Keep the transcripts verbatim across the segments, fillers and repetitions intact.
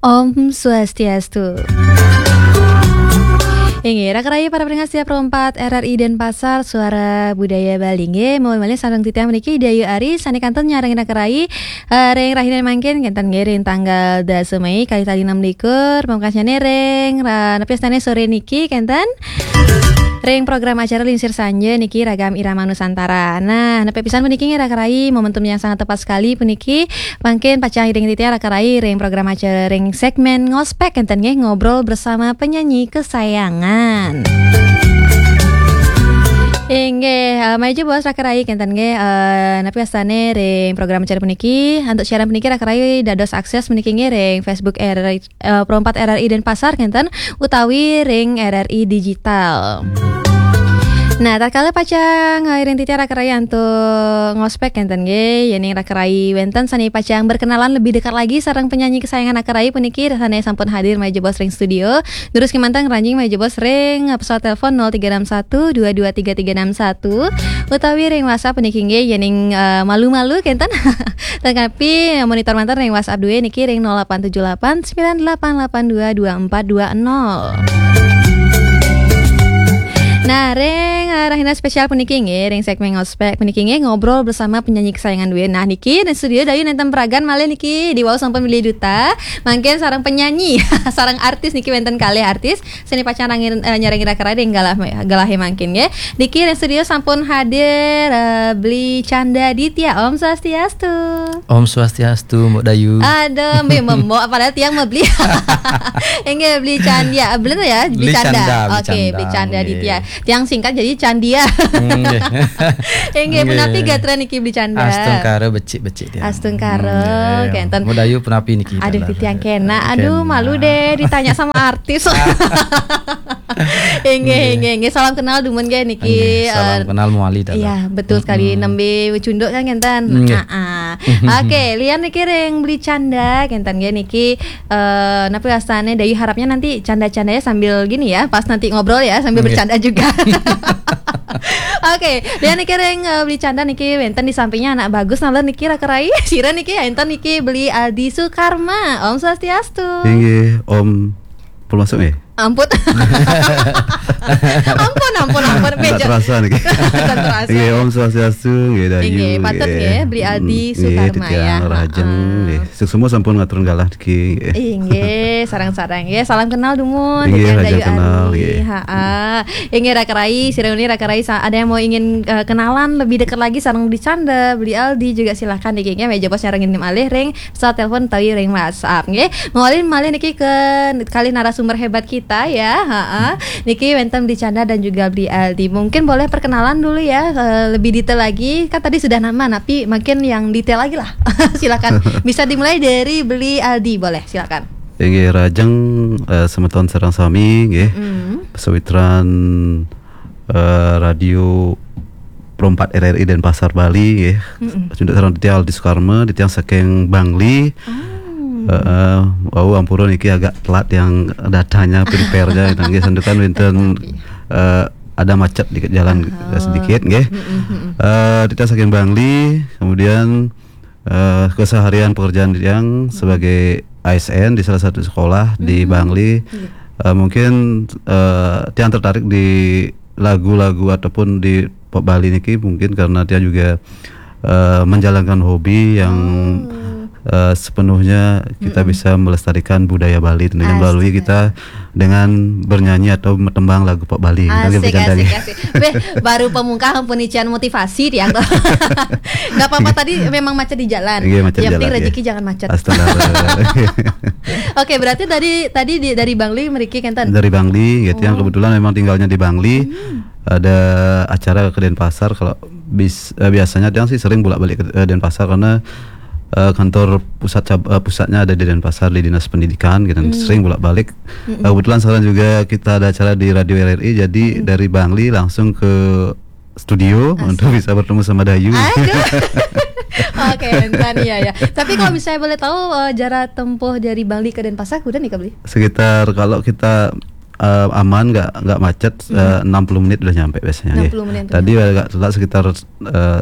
Om Swastiastu. Inggih, raka rayi para pendengar setia Pro empat R R I Denpasar, Suara Budaya Bali. Inggih, malih sareng titiang mriki Dayu Ari, sane kantun nyarengin raka rayi, eh, ring rahina mangkin, kenten nggih ring tanggal dasa Mei, kalih tali enam likur, pamekasnyane ring, ra-, napi wastane sore niki, kenten ring program acara Lingsir Sanja niki Ragam Irama Nusantara. Nah, napi pisan puniki nggih raka rayi, momentum yang sangat tepat sekali puniki, mangkin pacang iring titiang raka rayi ring program acara ring segmen ngospek kenten nggih, ngobrol bersama penyanyi kesayangan. Inggih, eh, malih jebos raka rayi kenten nggih, eh, napi wastane ring program acara puniki, antuk siaran puniki raka rayi dados akses puniki nggih ring Facebook R R I, eh, Pro empat R R I Denpasar kenten utawi ring R R I Digital. Nah, tatkala pacang, eh, iring titiang raka rayi antuk ngospek kenten nggih, yening raka rayi wenten sane pacang berkenalan lebih dekat lagi sareng penyanyi kesayangan raka rayi puniki sane sampun hadir malih jebos ring studio. Durus kemanten ngranjing malih jebos ring, eh, pesawat telepon nol tiga enam satu dua dua tiga tiga enam satu utawi ring WhatsApp puniki nggih, yening, eh, malu-malu kenten. Tetapi monitor manten ring WhatsApp due niki ring nol delapan tujuh delapan sembilan delapan delapan dua dua empat dua nol. Nah, ring, eh, rahina spesial puniki nggih, ring segmen ngospek puniki nggih, ngobrol bersama penyanyi kesayangan due. Nah, niki ring studio Dayu nenten pragan malih niki, diwau sampun bilih duta. Mangkin sareng penyanyi, sareng artis niki wenten kalih artis. Sane pacang rangin, eh, nyarengin raka rayi ring galah, galahe mangkin nggih. Niki ring studio sampun hadir, eh, Beli Canda Ditya. Om Swastiastu. Om Swastiastu, Mbok Dayu. Aduh, mbe memok, padahal tiang mah Beli. Inggih, Beli Canda. Bener ya, Beli Beli Canda. Canda, Beli Oke, Canda. Beli Canda Nggih. Ditya. Tiang singkat jadi Candia. Nggih. Inggih, Nggih. Punapi gatra niki Beli Canda? Astungkara becik-becik tiang. Astungkara, Hmm, nggih. Kenten. Mbok Dayu punapi niki? Aduh, dalah. Titiang kena. Aduh, Kena. Malu deh ditanya sama artis. Inggih, Nggih. Inggih, inggih. Salam kenal dumun nggih niki, Nggih, salam eh, kenal mawali dalah. Iya, betul sekali. Mm-mm. Nembe cunduk kan kenten. Nggih. Ah, ah. Oke, lian niki ring Beli Canda kenten nggih niki, eh, napi wastane Dayu harapnya nanti canda-candanya sambil gini ya, pas nanti ngobrol ya, sambil Nggih. Bercanda juga. Oke, lian niki ring, eh, Beli Canda niki wenten di sampingnya anak bagus nalar niki raka rayi. Sira niki enten niki Beli Aldi Sukarma. Om Swastiastu. Inggih, Om. Pun masuk nggih? Ampun. Ampun, ampun, ampun. Nggak Bejo. Terasa niki. Nggak terasa. Inggih, Om Swastiastu, nggih, Dayu, Inggih, patut nggih. Nggih, Beli Aldi Mm, nggih, Sukarma titiang ya. Rahajeng, Ha-ha. Nggih. Suksma sampun ngaturang galah niki, nggih. Inggih, sareng-sareng nggih. Salam kenal dumun, Inggih, titiang rahajeng Dayu kenal, Ari. Nggih. Ha-ha. Inggih, raka rayi, sira uning raka rayi sa-, ada yang mau ingin, eh, kenalan lebih dekat lagi sareng Beli Canda, Beli Aldi juga silakan niki nggih, malih jebos nyarengin malih ring pesawat telepon utawi ring WhatsApp nggih. Mawali malih niki ke kalih narasumber hebat kita ya. Ha-ha. Niki wenten Beli Canda dan juga Beli Aldi. Mungkin boleh perkenalan dulu ya, eh, lebih detail lagi. Kan tadi sudah nama, tapi mungkin yang detail lagi lah. Silakan. Bisa dimulai dari Beli Aldi, boleh. Silakan. Inggih, rahajeng, eh, semeton sareng sami nggih. Mm. Sawitran, eh, Radio Pro empat R R I Denpasar Bali nggih. Mm-mm. Cunduk sareng titiang Aldi Sukarma, titiang saking Bangli. Oh. Heeh, wau ampura niki agak telat yang datanya, prepare-nya nggih, santukan wenten, Tapi eh, ada macet dikit jalan, Aha. sedikit nggih. Mm-mm, mm-mm. Eh, titiang saking Bangli, kemudian, eh, keseharian pekerjaan titiang sebagai A S N di salah satu sekolah di Mm-mm. Bangli. Iya. Eh, mungkin, eh, tiang tertarik di lagu-lagu ataupun di pop Bali niki mungkin karena tiang juga, eh, menjalankan hobi yang, Oh. eh, sepenuhnya kita Mm-mm. bisa melestarikan budaya Bali tentunya melalui Astaga. kita dengan bernyanyi atau tembang lagu pop Bali. Kan gitu Asik, kan tadi. Asik, asik. Beh, baru pamungkas ampun ician motivasi tiang tuh. Nggak apa-apa, tadi memang macet di jalan. Iya, macet Yang penting jalan, iya. Rezeki jangan macet. Astaga. Oke, berarti tadi, tadi di, dari Bangli mriki kenten? Dari Bangli, gitu. Yang Oh. kebetulan memang tinggalnya di Bangli. Hmm. Ada acara ke Denpasar, kalau bis-, eh, biasanya tiang sih sering bolak-balik ke, eh, Denpasar karena, eh, kantor pusat cab-, eh, pusatnya ada di Denpasar, di Dinas Pendidikan gitu. Hmm. Sering bolak-balik. Mm-mm. Eh, kebetulan sekarang juga kita ada acara di Radio R R I, jadi Mm-mm. dari Bangli langsung ke studio Asik. untuk bisa bertemu sama Dayu. Aduh. Oke, entar ya, ya. Tapi kalau misalnya boleh tahu, eh, jarak tempuh dari Bangli ke Denpasar, udah nih, Kak Beli? Sekitar, kalau kita, eh, aman, nggak, nggak macet, Mm-mm. eh, enam puluh menit udah nyampe biasanya, nggih. Enam puluh menit udah Tadi nyampe. agak telat sekitar, eh,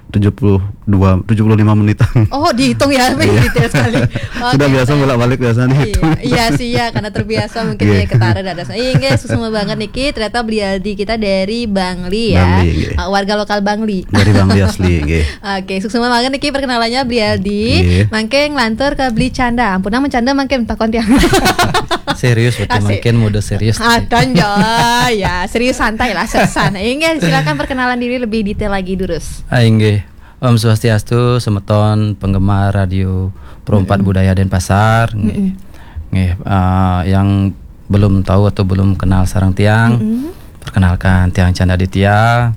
tujuh puluh dua, tujuh puluh lima menitan. Oh, dihitung ya, lebih detail sekali. Oke, Sudah biasa baik. Bolak-balik biasanya Iya, dihitung. Iya sih ya, karena terbiasa mungkin Iya. Ya ketara ada. Iya, nggih, suksma banget niki, ternyata Bli Aldi kita dari Bangli ya. Bangli, nggih. Uh, warga lokal Bangli. Dari Bangli asli, nggih. Oke, suksma banget niki perkenalannya Bli Aldi. Nggih. Mangke nglantur ke Bli Canda. Ampun, namun Canda mangke takon tiang. Serius betul, Asik. Mungkin mode serius. Adan ya, ya serius santai lah, sersan. Inggih, silakan perkenalan diri lebih detail lagi, Durus. Ah, inggih. Om Swastiastu, semeton penggemar Radio Pro empat Budaya Denpasar. Nggih. Nggih, ah, yang belum tahu atau belum kenal sareng tiang, perkenalkan, tiang Canda Aditya.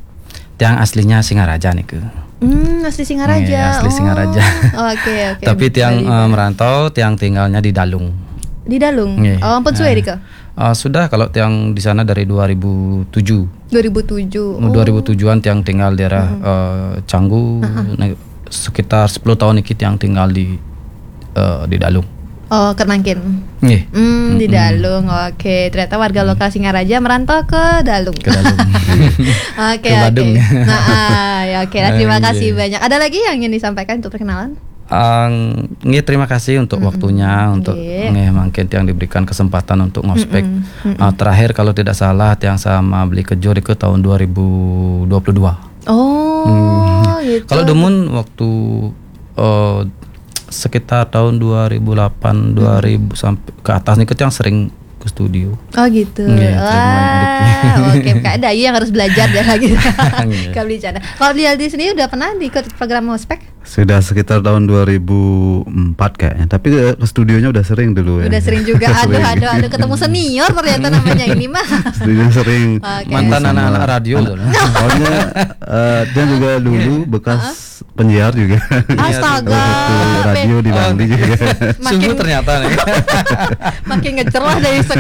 Tiang aslinya Singaraja niku. Hmm, asli Singaraja. Nggih, asli Oh. Singaraja. Oke, oke. Tapi tiang Bali. Eh, merantau, tiang tinggalnya di Dalung. Di Dalung. Nggih. Oh, ampun suwe Ah. Rika. Ah, sudah, kalau tiang di sana dari dua ribu tujuh. dua ribu tujuh. Oh, dua ribu tujuan tiang tinggal daerah eh, Canggu, nah, sekitar sepuluh tahun iki tiang tinggal di eh, di Dalung. Oh, Kernangkin. Nggih. Hmm, di Dalung. Oke, ternyata warga lokal Singaraja merantau ke Dalung. Ke Dalung. Oke, Ke oke. Badung. Nah, ah, ya, oke. Nah, terima Oke. Kasih banyak. Ada lagi yang ingin disampaikan untuk perkenalan? Ang, nggih, terima kasih untuk waktunya, untuk Nggih. nggih, mungkin tiang diberikan kesempatan untuk ngospek. Ah, terakhir, kalau tidak salah, tiang sama Bli Kejo ke tahun dua ribu dua puluh dua. Oh, gitu. Kalau dumun waktu eh, sekitar tahun dua ribu delapan, dua ribu sampai ke atas niku tiang sering ke studio. Oh, gitu. Nggih, Wah, terima kasih. Oke, Kak, ada yang harus belajar deh lagi. Nggih. Kak Bli Canda. Kalau Bli Aldi sendiri udah pernah ikut program ngospek? Sudah sekitar tahun dua ribu empat kayaknya. Tapi eh, ke studionya udah sering dulu ya. Udah sering juga. Aduh, Sering. Aduh, aduh, ketemu senior ternyata namanya ini mah. Studio sering. Oke. Mantan Sama anak-anak radio loh. Soalnya eh, dia juga dulu bekas penyiar juga. Astaga. Waktu radio di Bangli juga. Makin Sungguh ternyata nih. Makin ngecerlah dari sekarang.